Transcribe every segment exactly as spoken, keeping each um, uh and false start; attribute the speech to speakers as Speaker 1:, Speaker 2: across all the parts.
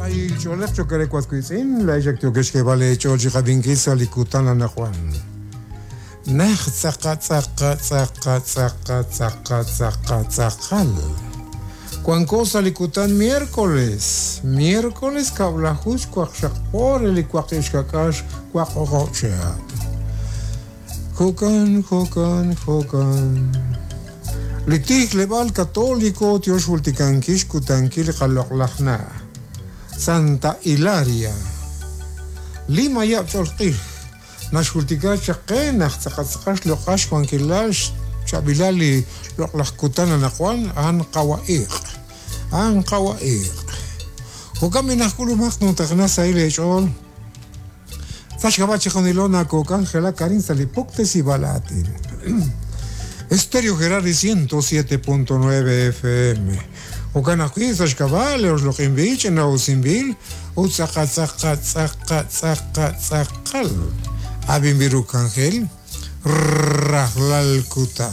Speaker 1: Sahil ch'oolej chokere kuazkuitzin, la ixak tiokexkebale ch'ool sa likutan anajuan. Naj tzaqa tzaqa tzaqa tzaqa tzaqa tzaqa tzaqal. Cuanco salikutan miércoles, miércoles kablajus cuaxakpor el cuaquixcacax cuacocochea. Jocan, jocan, jocan. Litij lebal católico tioxulticanquix cutankil jaloqlajna. Santa Hilaria. Lima yab cholqij. Naxultika chaqenaj tzaqatzaqax loqax juanquilax chabilali loqlajkutan anajuan an qawaiq. An qawaiq. Jocaminajkulumaq nutaqna sailechol. Sachkabachijunilona kokangela karin salipoctes y balatin. Estéreo Gerardi ciento siete punto nueve F M. Ocanajuiz, Sachkabale, Osloquimbich, Nausimbil, Utzaca, Zaca, Zaca, Zaca, Zacal. Abimbirucangel, Rajlalcutan.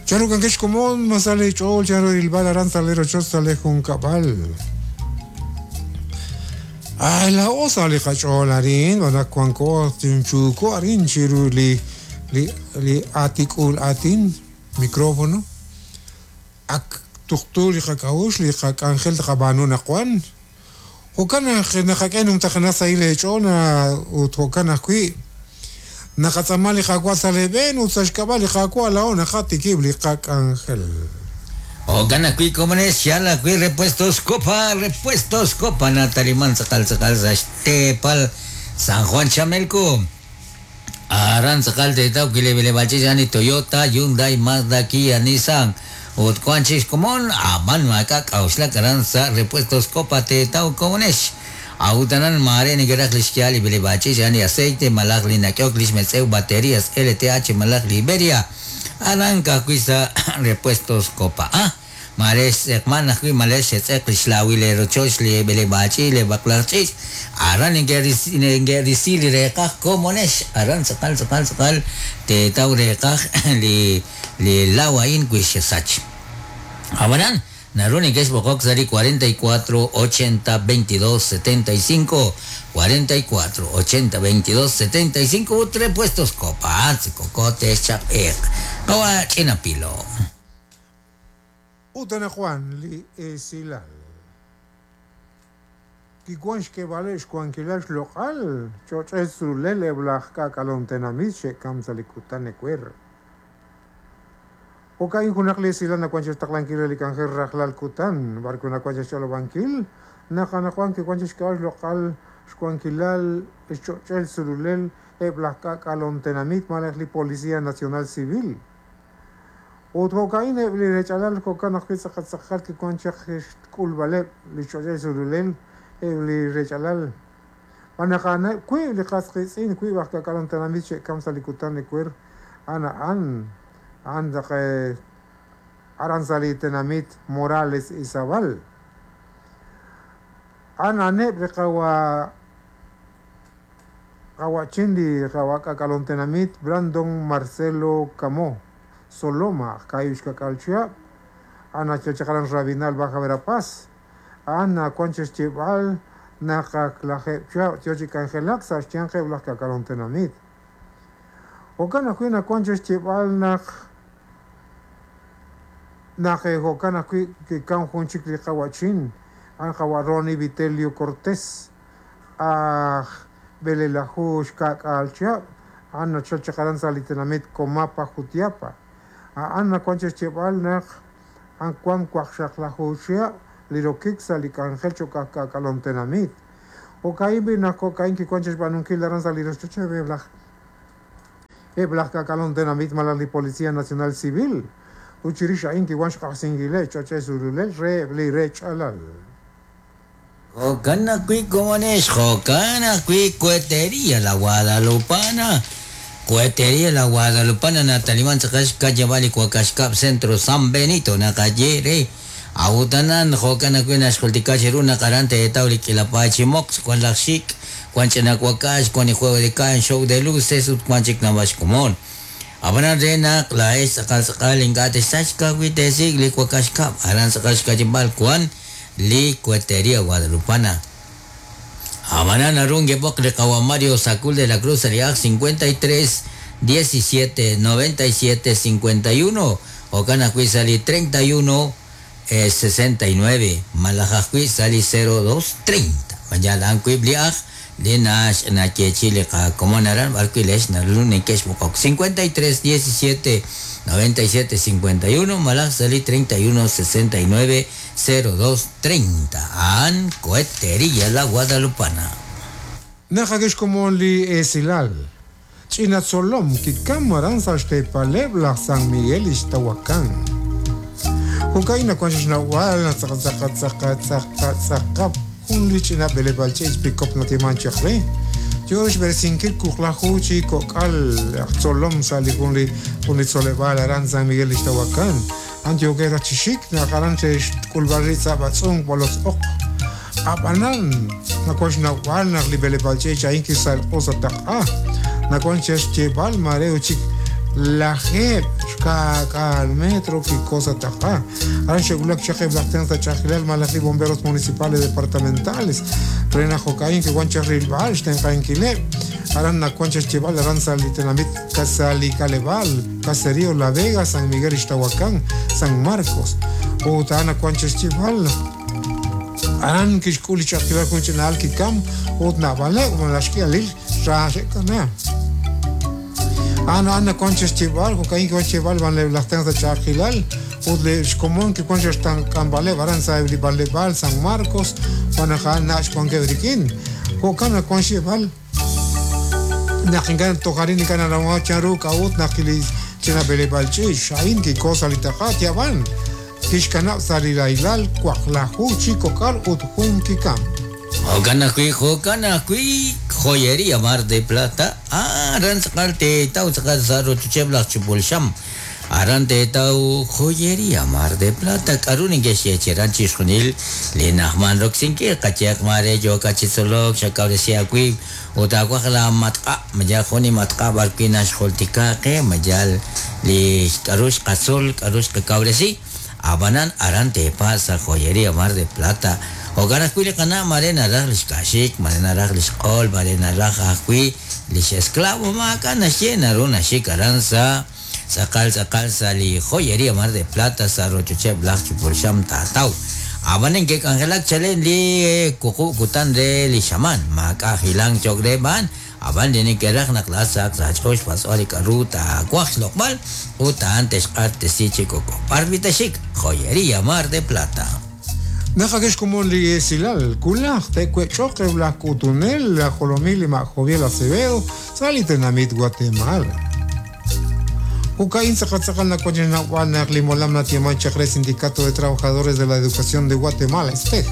Speaker 1: Charucanquesh comón, Masale Chol, Charo Ilbal, Aranzalero, Chosale, Juncabal. Ay, la osa le cacholarín, Banacuanco, Tinchuco, Arin, Chiruli, li, li atikul atin, micrófono. Ak tuqtul li li angel qabanu naqwan. Hokana naqaqen umtaqna saile chona ut hokana kui. Naqatsamali qaqwa saleben utsashkabali qaqwa la ona qatikib li qaq angel.
Speaker 2: Hokana kui comunes yala kui repuestos copa repuestos copa nataliman tzaqal tzaqal tepal San Juan Chamelco. Aran tzaqal tetau kilebele bachillani Toyota, Hyundai, Mazda, Kia, Nissan. Utcuanchis común, aman maca, causla caranza, repuestos copa tetau comunes. Autanan mare nigerach lishkiali bilebachis, yani aceite, malach linakiok, lishmetseu, baterías, L T H, malach Liberia. Aranca cuisa repuestos copa. Ah, mares ekmanach males etzek lishlawi le rochosh le belebachi le baklachis. Aran ingerisili rekach comunes. Aran sakal sakal sakal tetau rekach li le lawain kuishesach. Abanan, Naruni que es Bocoxari cuarenta y cuatro ochenta veintidós setenta y cinco, cuarenta y cuatro ochenta veintidós setenta y cinco, tres puestos copa, cocote, chapek, kawa chinapilo.
Speaker 1: Utana Juan li esilal. Kikuanx que vales cuanquilax local, chochezulele blajka calontenamiche kamsalikutane cuer. Okain junaqli silana cuanches taqlanquil el cangel rajlal kutan, barcuna cuanches cholobanquil, najanajuan que cuanches que local, xcuanquilal, chochel surulel, eblajka calontenamit, malajli Policía Nacional Civil. Otro cain ebli rechalal cocan ajpitzaqatzaqal que cuanchaj culbaleb, lichochel surulel, ebli rechalal. Manajana, cui liqasqitzin, cui bajka calontenamit, kamsalikutan ecuer, ana an. Anda que Aranzali Tenamit Morales Izabal. Ana neb kawa kawachindi kawakakalontenamit Brandon Marcelo Camó Soloma Kayushka Kalchia Ana Chachakalan Rabinal Baja Verapaz Ana Conches Chibal Nakaklaje Tiochicangelak Saschiange Blakakalontenamit Okana kuina conches chibal nak nak okana kui que kan junchik li kawachin an kawaroni Vitelio Cortés ah belelajush kak alcha ana chachakaran salitenamit comapa Jutiapa a ana conches chibal nak an kuan kuaxaklajushia lirokik salikangel chokakalontenamit okaimbi nak okain ki conches banunkil daran salirochoche beblaj Eblajka calontenamit malali Policía Nacional Civil. Uchirisha inki wanshka singile choche surulel re li re chalal.
Speaker 2: Jocana cui comones, jocana cui cuetería la Guadalupana. Cuetería la Guadalupana Natalimán Tzakash calle Vali Cuacashcap Centro San Benito Nakayere. Autanan jocana cui nashkultikachiruna karante de tauli kilapachimox con la chic. Cuanchanacuacash, con el juego de can, show de luces, cuanchic navashcomón. Abanan renak, la es, sakal sakal, ingate, sachka, huite, sigli, cuacashcap, aran sakashka, chimbal, cuan, li Cohetería Guadalupana. Amanana runge bokle kawa Mario Sacul de la Cruz Aliaj cincuenta y tres diecisiete noventa y siete cincuenta y uno Ocana Sali treinta y uno eh, sesenta y nueve Malajajui Sali cero dos treinta Mañana Ancuibliaj Linash Nache como naran Barquilesh Narlunekesh Bokok cincuenta y tres diecisiete noventa y siete cincuenta y uno Malaj Sali treinta y uno sesenta y nueve cero dos treinta An Cohetería La Guadalupana.
Speaker 1: Najagesh como li esilal Chinatzolom kikamaran saltepaleb San Miguel Ixtahuacán. Jucaina cuanchnahual tzaca un lichina belebalche pikop natimanchakre. Yosh bersinkil kuklajuchi kokal tzolom salikun unitzoleval aran San Miguel Ixtahuacán. Antioquera chishik nakaranche kulbarritza batzung bolos ok. Abanan nacuachnahual naklibelebalche chainki sal osataqa. Nacuanches chebal mareo chik la jeb al metro que cosa taja. Aran shegulak chake blactenza chakilal malaki bomberos municipales departamentales. Rena jocaín que guancha rilbal tencainquile. Aran nacuanches chebal aran salitenamit casalicaleval caserío La Vega San Miguel Ixtahuacán San Marcos. Utana cuanches chebal. Aran kishkuli chakilal kunchinal kikam utnabale umalashkialil rashekana. Ana ana conches chival, cocaín conches chival, van le las tenza chakilal, udle común que conches tan cambale, baranza de San Marcos, van a nach con quebriquín, cocana concheval, nakingan tojarín y canara charu, caut, nakilis, chena belebalchi, shain, que cosa litachat, van, kishkanap sarilailal, cuaclahu, chico cal, utjun kikam.
Speaker 2: Jokanakui, Jokanakui, joyería Mar de Plata, Aran tau tzakal chuchebla chupulsham, Aran te tau joyería Mar de Plata, Karunin geshecheran chishunil, Linahman roxinki, Kachiak mare, yo kachizolok, shakauresiakui, Utakwakla matka, mayal joni matka, barquina xoltikake, mayal li karush kasul, karush kakauresi, Abanan aran te pasa joyería Mar de Plata. Ogarascuile cana marena raj kashik, marena raj qol, marena raj ajui, lish esclavo macana llena runa shikaranza, sacal sacal sali joyería Mar de Plata, sarrochuche blach chupursham tatau. Abanen que cangelak chalen li kuku kutan re li shaman, maca hilang chogreban, aban de que raj naklasak, sachosh pasoli karuta, cuax lokmal, uta antes arte si chico, parvitashik, joyería Mar de Plata.
Speaker 1: Najagesh como li esilal, kulaj, tecuechoque, blascutunel, la jolomil y majoviel Acevedo, salitenamit Guatemala. Ucaín Zacatzakal Nacuachenahuanac, Limolam Natiaman Chacre, Sindicato de Trabajadores de la Educación de Guatemala, este.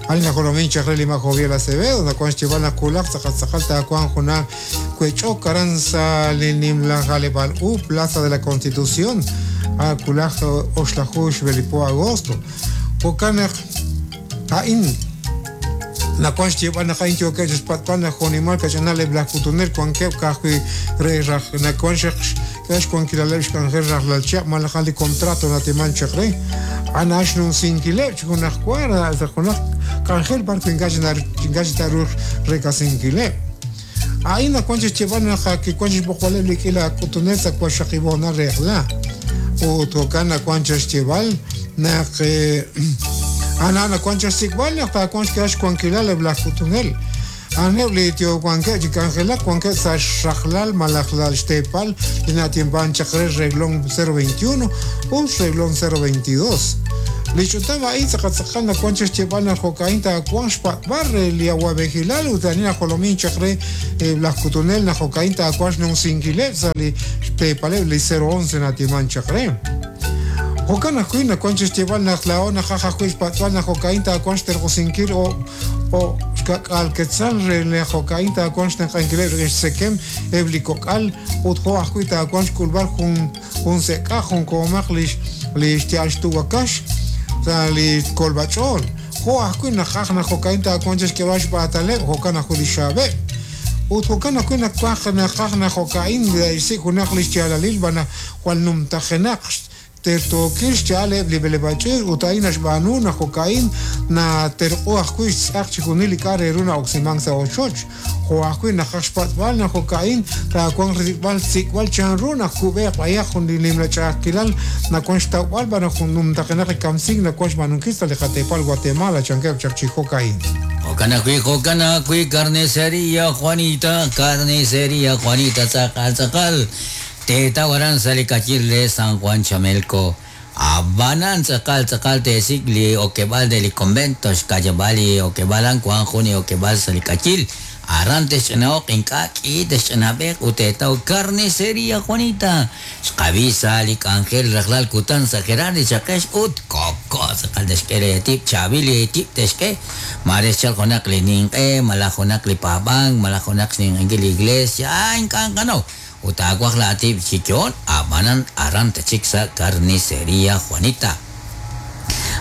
Speaker 1: Alina Jolomín Chacre, Lima Joviel Acevedo, Nacuanchivana Kulaj, Zacatzakal, Tacuan Juna, Cuecho, Caranza, Linimla, Jalebal, U, Plaza de la Constitución, Kulaj, Oxlajush, Belipo, Agosto. Ocanak, Ain, Nacuanch llevan a Jaincho que es patana, Jonimal, Cachanale, Blacutuner, Cuanque, Cajui, Rey, Nacuanch, Cash, Cuanquilalesh, Canger, Rajlalcha, Malajali, contrato, Natimancha, Rey, Anashnun, Sinquilech, Junacuara, Zajunac, Cangel, Barco, Engajitarur, Recasinquile. Ain, Nacuanch llevan a Jaqui, Cuanch, Bojuale, Liquila, Cutunesa, Cuachakibona, Regla, Utocana, Cuanch, Cheval, Nak ana na cuancha sikbal na cuancha kash cuanquilal blacutunel anebli tio cuanque chicangela cuanque sa shakhlal malakhlal shtepal inatimban chakre reglón cero veintiuno un reglón cero veintidós lichutama itza na cuancha chebana jocainta cuanchpa barre liaguabejilal utanina jolomin chakre blacutunel na jocainta cuanch non sinquilep sali shtepal li cero once natiman chakre Jocana cuina conches llevan la laona jaja juiz patuana jocainta conster gosinkir o o alquetzal re jocainta conster canquiler sekem eblicocal utjo ajuita conch culbar jun jun seca jun comac lish lish tiaxtuacash li colbachol jo ajuina jajna jocainta conches que vash patale jocana judishabe utjocana cuina cuajna jajna jocain de si junaj lish tialalil bana cual num tajenax Tertookil xcha'al eb' li b'eleb'aal ch'iich' ut a'in naxb'aanu naq jo'ka'in naterq'u ajwi' xtz'aq chixjunil li k'a' re ru na'oksimank sa' ochoch. Jo' ajwi' naqaj xpatz'b'al naq jo'ka'in taawanq risik'b'al sik'b'al chanru naq kub'eeq b'ayaq jun li nimla ch'a'ajkilal nawank xtawb'al b'an naq jun numtaqenaq li kamsink nawank xb'aanunkil sa' li qateepal Guatemala chankeb' chaq chi jo'ka'in.
Speaker 2: Jo'kan ajwi', jo'kan ajwi', carnicería Juanita, carnicería Juanita, tz'aqal tz'aqal. Teetaw aran sa' li kachil re San Juan Chamelco. Ab'anan tz'aqal tz'aqal teesik' li okeb'aal de li convento, xka'yab'aal li okeb'aal an wank jun li okeb'aal sa' li k'ayil. Aran texch'ina'oq ink'a' k'i texch'inab'eq ut teetaw carnicería Juanita. Xqab'i sa' li k'anjel rajlal kutan sa' Gerardi chaqex ut koko tz'aqal texk'e re tib' chaab'il li tib' texk'e. Mare xchal junaq li ninq'e, malaj junaq li paab'ank, malaj junaq xninq'enkil li iglesia, ah, ink'a' nqanaw. Ut taawaj la tib' chi yo'on, ab'anan aran tachik sa' carnicería Juanita.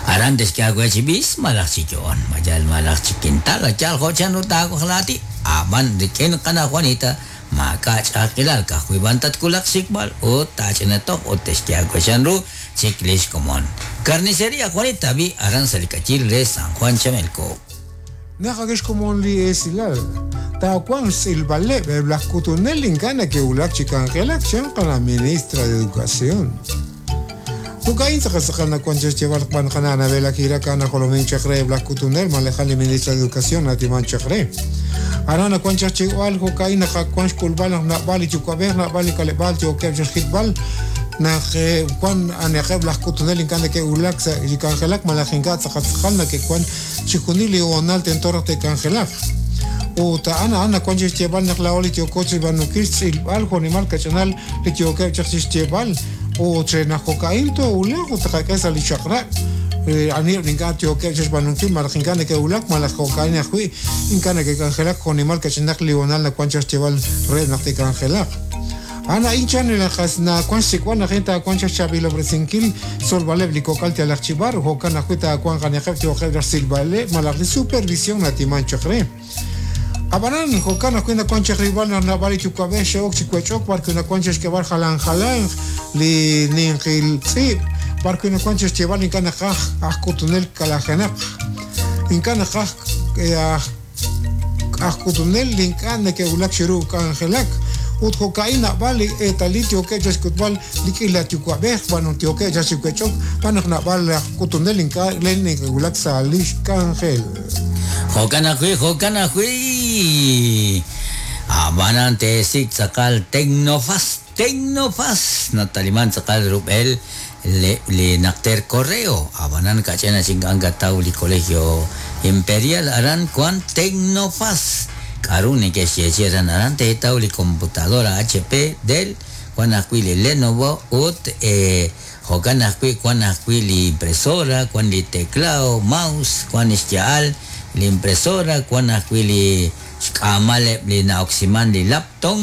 Speaker 2: Aran texk'e aawe chi b'is, malaj chi yo'on, mayal malaj chi kintal, yal jo' chanru taawaj la tib'. Ab'an rik'in qana Juanita, maak'a' ch'a'ajkilal, ka'ajwi' b'an tatwulaq xsik'b'al ut taach'inatoq ut texk'e aawe chanru chik lix komon. Carnicería Juanita bi aran sa' li k'ayil re San Juan Chamelco.
Speaker 1: Naq akix komon li esilal. Taawanq xtz'ilb'aleb' eb' laj k'utunel ink'a' nake'wulak chi k'anjelak xanqa la ministra de Educación. Jo'ka'in tz'aqal tz'aqal nawank chixyeeb'al q'an qana Anabel Aguirre kana jolomin chaq re eb' laj k'utunel malejal li ministra de Educación natiman chaq re. Aran nawank chaq chiwal jo'ka'in naqawank xk'ulb'al naq nab'al li yuwa'b'ej nab'al li k'aleb'aal yookeb' chixjitb'al naq wan aneqeb' laj k'utunel ink'a' nake'wulak sa' li k'anjelak malaj ink'a' tz'aqal tz'aqal nake'wank chixjunil li hoonal tento raj te'k'anjelaq. Ut a'an a'an nawank chixyeeb'al naq laa'o li yooko chixb'aanunkil xtz'ilb'al jo'nimal kach'inal li yookeb' chaq chixyeeb'al. Ut re naq jo'ka'in toowulaq ut taqak'e sa' li chaq'rab'. Aniheb' ink'a' yookeb' chixb'aanunkil malaj ink'a' neke'wulak malaj jo'ka'in ajwi' ink'a' neke'k'anjelak jo'nimal kach'inaq li hoonal nawank chixyeeb'al re naq te'k'anjelaq. Ana inchan naqas nawank xsik'b'al naq taawank chixchaab'ilob'resinkil tzolb'aleb' li kok'al yalaq chi b'ar jo'kan ajwi' taawanq aniheb' yookeb' chixsilb'aleb' malaj li supervisión natiman chaq re. Ab'anan jo'kan ajwi' nawank chaq rilb'al naq nab'al li yuwa'b'ej xe'ok chi wech'ok b'arwi' nawank chixk'eb'al jalan jalanq li ninqil tz'iib' b'arwi' nawank chixyeeb'al ink'a' naqaj aj k'utunel kalajenaq. Ink'a' naqaj aj k'utunel ink'a' neke'wulak chiru k'anjelak. Ut jo'ka'in nab'al li eetalil yookeb' chixk'utb'al li k'ila yuwa'b'ej b'an yookeb' chixwech'ok b'an naq nab'al aj k'utunel ink'a' len neke'wulak sa' lix k'anjel.
Speaker 2: Jo'kan ajwi', jo'kan ajwi'. Ab'anan teesik' tz'aqal Tecnofaz, Tecnofaz. Nataliman tz'aqal rub'el li, li naqter correo. Ab'anan kach'ena chink'an kataw li Colegio Imperial aran wan Tecnofaz. K'aru neke'xyeechi aran aran teetaw li computadora H P Dell, wan ajwi' li Lenovo ut eh, jo'kan ajwi' wan ajwi' li impresora, wan li teclado, mouse, wan xya'al li impresora, wan ajwi' li xk'aamaleb' li na'oksiman li laptop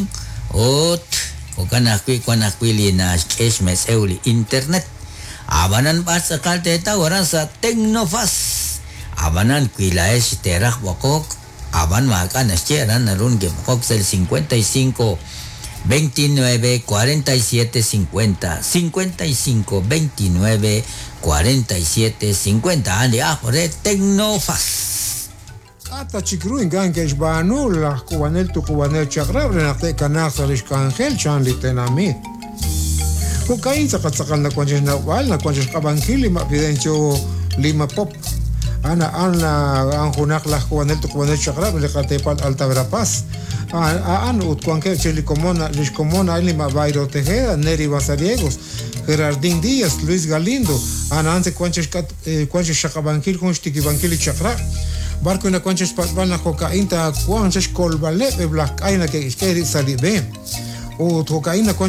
Speaker 2: ut jo'kan ajwi' wan ajwi' li naxk'e xmetz'ew li internet. Ab'anan b'ar tz'aqal teetaw aran sa' Tecnofaz. Ab'anan wi la'ex teeraj b'oqok, ab'an maak'a' naxye aran naru neke'b'oqok sa' li cincuenta y cinco veintinueve cuarenta y siete cincuenta, cincuenta y cinco veintinueve cuarenta y siete cincuenta. A'an li aj re Tecnofaz.
Speaker 1: K'ata chik ru ink'a' neke'xb'aanu laj k'uub'anel tuqub'anel chaq'rab' re naq te'kanaaq sa' lix k'anjel chan li tenamit. Jo'ka'in tz'aqal tz'aqal nawank chixnawb'al, nawank chixq'ab'ankil li ma' Fidencio Lima Pop. Ana ana an junaq laj k'uub'anel tuqub'anel chaq'rab' li qateepal Alta Verapaz. A'an ut wankeb' chi li komon, lix komon a'in li ma' Bayro Tejeda, Neri Basariegos, Gerardín Díaz, Luis Galindo. Ana an se wank chixk'at, wank chixxaqab'ankil jun xtikib'ankil li chaq'rab'. Barco nawank chixpatz'b'al naq jo'ka'in taawanq chixkolb'aleb' eb' laj k'ay nake'xk'e rib' sa' li b'e. Ut jo'ka'in nawank